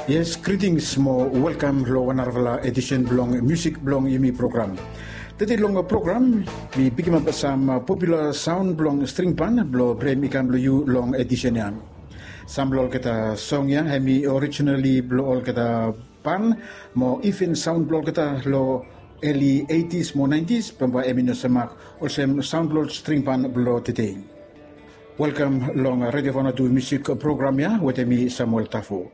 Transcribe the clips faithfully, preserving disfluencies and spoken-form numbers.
Yes, greetings mo welkam long wan narafala edisen blong musik blong yumi program. Tede long program mi pikimap sam popular saun blong string ban blong brem i kam long yu long edisen ya. Sam blong olgeta song ya hem i orijinali blong olgeta ban mo iven saun blong olgeta long eli eighties mo nineties bambae hem i no semak olsem saun blong string ban blong tede. Welkam long Radio Vanuatu musik program ya wetem mi Samuel Tafo.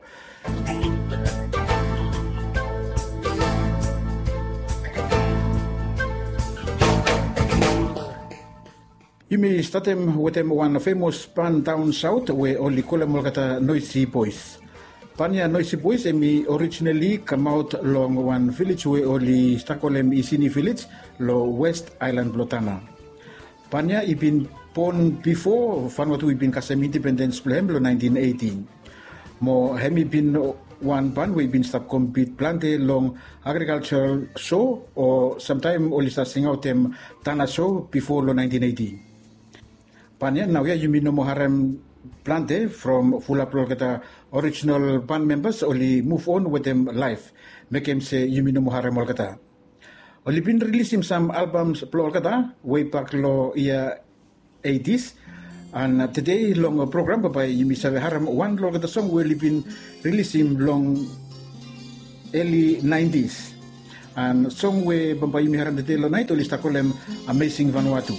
Yumi statem wetem wan femos ban daon saot we oli kolem olgeta Noisy Boys. Ban ya Noisy Boys hem i orijinali kamaot long wan vilej we oli stap kolem Isini Vilej long West Aelan blong Tanna. Ban ya i bin bon bifo Vanuatu i bin kasem indipendens blong hem long naentin eiti. Mo hem i bin wan ban we i bin stap kompit plante long agrikaljaral so o samtaem oli stap singaotem Tanna so bifo long naentin eiti. Ban ya naoia yumi no moa harem plante from fulap long olgeta orijinal ban membas oli muv on wetem laef, mekem se yumi no moa harem olgeta. Oli bin rilisim sam albam blong olgeta wei bak long yia eitis. An tede long program bambae yumi save harem wan long olgeta song we oli bin rilisim long eli naentis. An song we bambae yumi harem tede long naet oli stap kolem Amazing Vanuatu.